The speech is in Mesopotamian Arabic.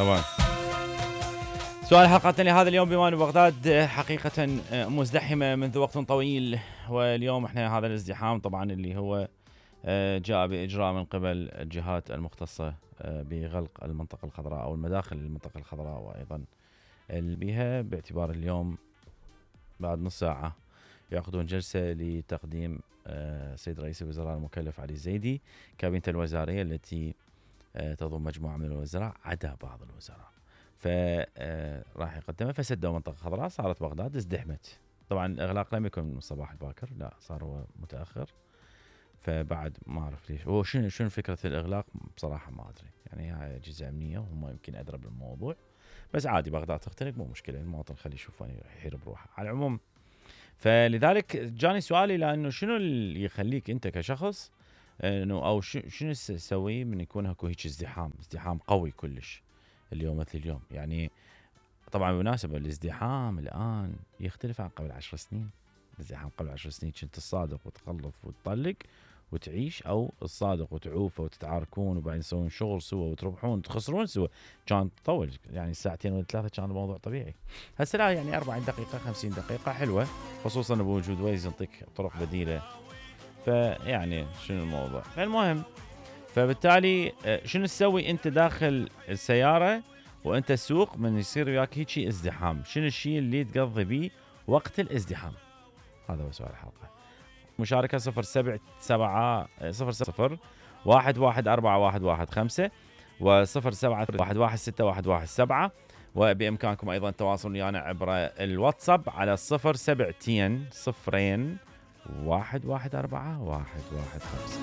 طبعا. سؤال حلقتنا لهذا اليوم: بما أن بغداد حقيقة مزدحمة منذ وقت طويل، واليوم احنا هذا الازدحام طبعا اللي هو جاء بإجراء من قبل الجهات المختصة بغلق المنطقة الخضراء أو المداخل للمنطقة الخضراء وأيضا بها، باعتبار اليوم بعد نص ساعة يعقدون جلسة لتقديم سيد رئيس الوزراء المكلف علي الزيدي كابينة الوزارية التي تضم مجموعة من الوزراء عدا بعض الوزراء، فراح يقدمها. فسدوا منطقة خضراء، صارت بغداد ازدحمت. طبعا الإغلاق لم يكن من الصباح الباكر، لا صار هو متأخر، فبعد ما أعرف ليش هو شنو فكرة الإغلاق بصراحة ما أدري، يعني هاي أجهزة أمنية وهم يمكن أدرى بالموضوع، بس عادي بغداد تخترق مو مشكلة، المواطن خليه يشوف يحير بروحه. على العموم فلذلك جاني سؤالي، لأنه شنو اللي يخليك أنت كشخص إنه أو شنو تسوي من يكون هكو هيك ازدحام قوي كلش اليوم مثل اليوم؟ يعني طبعا بالمناسبة الازدحام الآن يختلف عن قبل 10 سنين. الازدحام قبل 10 سنين كنت الصادق وتخلف وتطلق وتعيش، أو الصادق وتعوفه وتتعاركون وبعدين تسوون شغل سوا وتربحون وتخسرون سوا، كان تطول يعني ساعتين ولا ثلاثة، كان الموضوع طبيعي. هسه لا، يعني 40 دقيقة 50 دقيقة حلوة، خصوصا بوجود ويز يعطيك طرق بديلة. فيعني شنو الموضوع؟ المهم، فبالتالي شنو تسوي انت داخل السيارة وانت تسوق من يصير وياك هيك ازدحام؟ شنو الشيء اللي تقضي بيه وقت الازدحام؟ هذا هو سؤال الحلقة. مشاركة 070-114-115 و071161117، وبإمكانكم أيضا التواصل ويانا عبر الواتساب على 072 0 114 115.